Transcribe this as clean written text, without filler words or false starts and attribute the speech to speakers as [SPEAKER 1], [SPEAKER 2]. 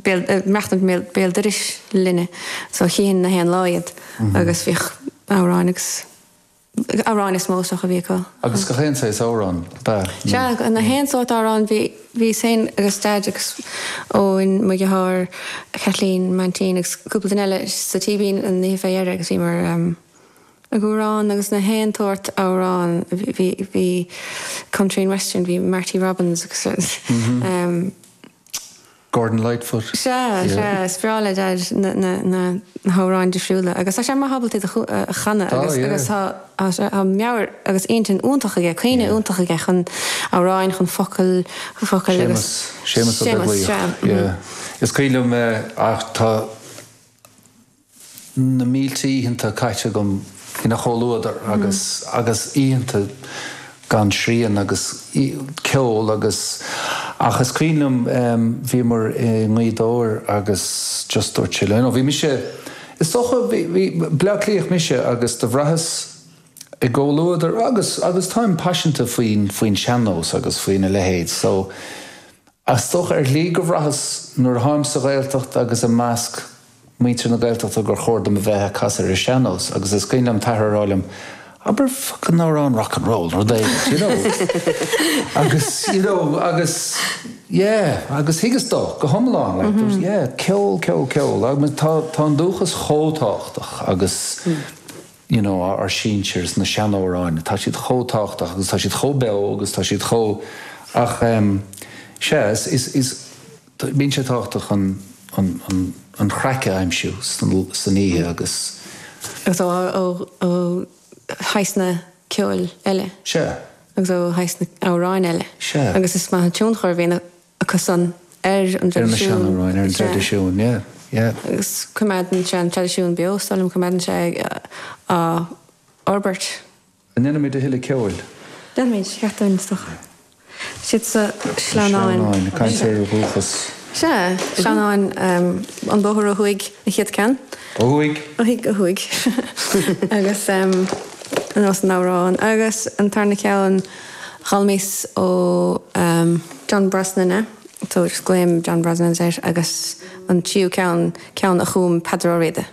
[SPEAKER 1] béal, ag maireachtaint béal dorais linne so chífinn na haon lá iad agus bhíodh amhráin agus amhráin is mó is dócha a bhí acu.
[SPEAKER 2] Agus gach aon saghas amhrán, ab ea?
[SPEAKER 1] Sea, na haon sórt amhrán, bhí, bhíos féin agus Daid agus Eoin, mo dheartháir, Kathleen, m'aintín agus cúpla duine eile sa Tíbín an oíche fé dheireadh agus bhíomar ag amhrán agus na haon tsórt amhrán, bhí, bhí country and western, bhí Marty Robbins agus.
[SPEAKER 2] Gordon Lightfoot.
[SPEAKER 1] Sea, sea, is breá le Daid na hamhráin difriúla agus tá sé maith ábalta iad a chanadh agus agus tá tá meabhair agus intinn iontach aige, cuimhne iontach aige chun amhráin, chun focail, focail
[SPEAKER 2] agus. Séamus, Séamus Ó Beaglaoich,
[SPEAKER 1] Séamus, sea.
[SPEAKER 2] Yeah. Is cuimhin liom ach tá. na mílte oícheanta caite agam ina chomhluadar agus agus oícheanta gan srian agus ceol agus ach is cuimhin liom bhíomar i nGaoth Dobhair agus just dúirt sé liom, you know bhí mise is dócha bhí bhí Bleá Cliathach mise agus do bhraitheas i gcomhluadar agus agus táim paiseanta faoin faoin sean-nós agus faoina leithéid so is dócha ar shlí go bhraitheas nuair a tháim sa Ghaeltacht agus i measc muintir na Gaeltachta gur chóir dom a bheith ag casadh ar an sean-nós agus is cuimhin liom t'athair a rá liom, abair fucking amhrán rock and roll nó rud éigin, you know. Agus, you know, agus, yeah, agus thuigeas dó go hiomlán, like, there was, yeah, ceol, ceol, ceol, agus tá, tá an dúchas chomh tábhachtach agus, you know, ár sinsir is na seanamhráin, tá siad chomh tábhachtach agus tá siad chomh beo agus tá siad chomh, ach, em, sea, is, is, is, Bíonn sé tábhachtach an chraic a aimsiú san oíche agus.
[SPEAKER 1] Agus ó shaghsanna ceoil eile.
[SPEAKER 2] Sea.
[SPEAKER 1] Agus ó shaghsanna amhráin eile.
[SPEAKER 2] Sea.
[SPEAKER 1] Agus is maith an tionchar a bhíonn acu san ar an
[SPEAKER 2] traidisiún. Ar na seanamhráin, ar an traidisiún, yeah, yeah.
[SPEAKER 1] Agus coimeádann sé an traidisiún beo, is dóigh liom, coimeádann sé á fhorbairt.
[SPEAKER 2] An ndéanfaimid a thuilleadh ceoil?
[SPEAKER 1] Déanfaimid, ceart dúinn, is dócha. Siad sa
[SPEAKER 2] Sleamhnáin. Sleamhnáin, ag caint ar dhúchas.
[SPEAKER 1] Sea, Sleamhnáin, an bóthar ó thuaidh, an chéad ceann.
[SPEAKER 2] Ó thuaidh?
[SPEAKER 1] Ó thuaidh, ó thuaidh. Agus ar nós an amhráin. Agus an tarna ceann, d'fhoghlaimíos ó John Brosnan é, so just glaoim John Brosnan air, agus an tríú ceann, ceann a chum Peadar Ó Riada.